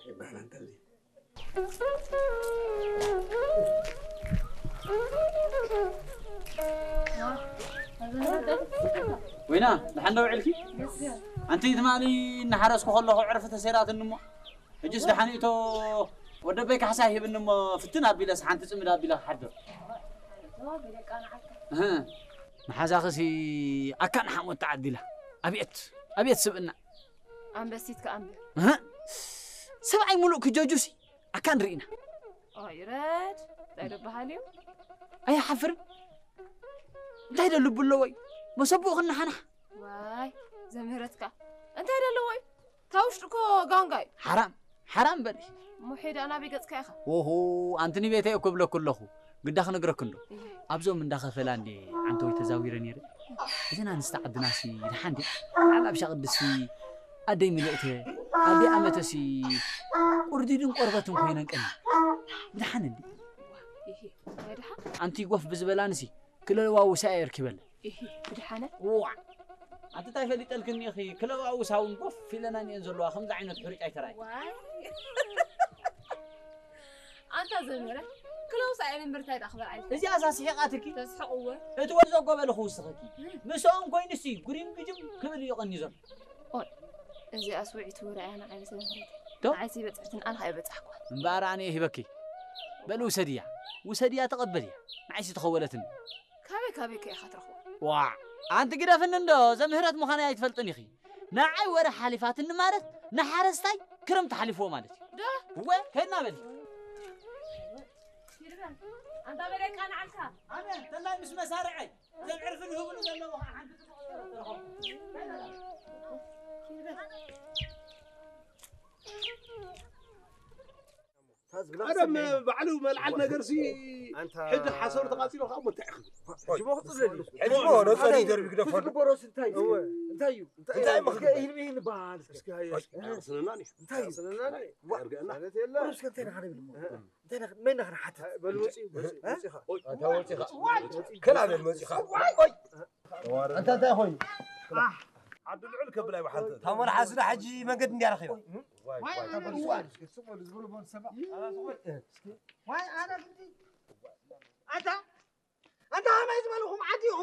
ይባላል እንተዚ። ወይና፣ ደሓን ዶ ውዕልኪ? ኣንቲ ትማሊ እናሓረስኩ ከለኹ ዕርፊ ተሰይራትኒ እሞ፣ ሕጅስ ደሓን እቶ ወደበይ ካሕሳ ሂብኒ እሞ፣ ፍትን ኣቢለስ ሓንቲ ጽምድ ኣቢለ ክሓድር። እህ፣ መሓዛኽሲ ኣካን ሓሞት ተዓዲላ። ኣብየት፣ ኣብየት ስብእና። ኣንበሲት ከኣ እምበር። እህ፣ ሰብኣይ ሙሉእ ክጀጁሲ ኣካን ርኢና። ኦይ ረድ፣ እንታይ ደበሃል እዩ? ኣይሓፍርን። እንታይ ዶ ልቡ ኣለዎ እዩ? መሰብኡ ክነሓናሕ። ዋይ፣ ዘምህረትካ። እንታይ ዶ ኣለዎ እዩ? እታ ውሽጢ እኮ ጋንጋ እዩ። ሓራም፣ ሓራም በሊ። እሞ ሄዳ ናበይ ገጽካ ኢኻ? ኦሆ፣ ኣንቲ ንቤተይ እኮ እብለኩ ኣለኹ። ግዳ ክነግረክ እንዶ። እየ። ኣብዞም እንዳ ኸፈላ እንዴ ዓንተወይ ተዛዊረ ነይረ። እዘን ኣንስቲ ዓድናሲ ድሓን ድያ? ዓብ ኣብሻ ቅድስቲ ኣደይ ምልእተ፣ ኣደይ ኣመተሲ ቁርዲድን ቆርበትን ኮይነን ቀኒ። ድሓን እንዲ። ይሄ፣ ወይ ድሓን? ኣንቲ ጎፍ ብዝበላንሲ ክለዋውሳ እየ ርኪበለ። ይሄ፣ ብድሓነ? ዋዕ! ኣንቲ እንታይ ፈሊጠልክኒ ኢኺ? ክለዋውሳ እውን ጎፍ ኢለናን እየን ዘለዋ። ከምዚ ዓይነት ሕሩጭ ኣይተራእየ። ዋይ! ኣንታ ዘምህረ፣ ክለውሳ እየን እምበር እንታይ ደኣ ክበልዓ ኢልካ? እዚኣሳ ስሒቓትኪ? ተስሕቕ እወ። እቲ ወዲ ዘጎበለ ክውስኸኪ። ምስኦም ኮይኑሲ ጉሪም ግጅም ክብል እዩ ቀንዩ ዘሎ። ኦይ፣ እዚኣስ ውዒቱ ርኣያ ንዓይ ምስ ዘምህረት። ዶ? ንዓይሲ በጽሕትን ኣነ ከኣ በጻሕኳ። እምበኣር ኣነ እየ ሂበኪ። በል ውሰድያ። ውሰድያ ተቐበልያ። ንዓይሲ ተኸወለትኒ። ካበይ ካበይ ከ ኢኻ ትረኽቦ? ዋዕ! ኣንቲ ግደፍኒ እንዶ፣ ዘምህረት ምዃነይ ኣይትፈልጥን ኢኺ። ንዓይ ወረ ሓሊፋትኒ ማለት ንሓረስታይ ክረምቲ ሓሊፍዎ ማለት እዩ። ዶ? እወ፣ ከድና በሊ። ኣንታ በለይ ቃንዓልካ። ኣነ ተላይ ምስ መሳርዐይ ዘም ዕርፊ ንህብሉ ዘለዎ ከዓ ሓንቲ ጽቡቕ ነገር ተረኸብኩ። ቀደም ባዕሉ መልዓል ነገርሲ ኣንታ ሕጂ ሓሰሩ ተቓጺሉ ከዓ እሞ እንታይ ክብል? ሕጂ እሞ ክጽለል እዩ። ሕጂ እሞ ነጸሊ ደርቢ ግደፈሉ። ክትግበሮስ እንታይ እዩ? እወ። እንታይ እዩ? እንታይ እንታይ እዩ? እስከ ኢህልሚ ኢህልሚ በሃል እስከ። እስኪ ሃየ እስኪ። ኣቕስነና ኒ። እንታይ እዩ? ኣቕስነና ኒ። ዋ፣ ኣርገአና። ማለት የለ። እስከ እንታይ ኢና ክንብል እሞ? እንታይ ኢና፣ መን ኢና ክንሓትት? በል ውፂ፣ ውፂ፣ እ? ውፂ ኢኻ። ኣታ ወፂኻ። ከላ በል መፂኻ። ኣንታ እንታይ ኮይኑ? ዓዲ ልዑል ከብል ኣይወሓልተን። ታሞል ሓስዳ ሕጂ መንገዲ እንዲያ ረኺባ። ዋይ፣ ዋይ፣ ዋይ፣ እስኪ ስቕ በሉ፣ ዝበሉ በሉ ሰባ። ዋይ፣ ኣነ ክንዲ። ኣንታ፣ ኣንታ ከመይ ዝበልኹም ዓዲ ኢኹም?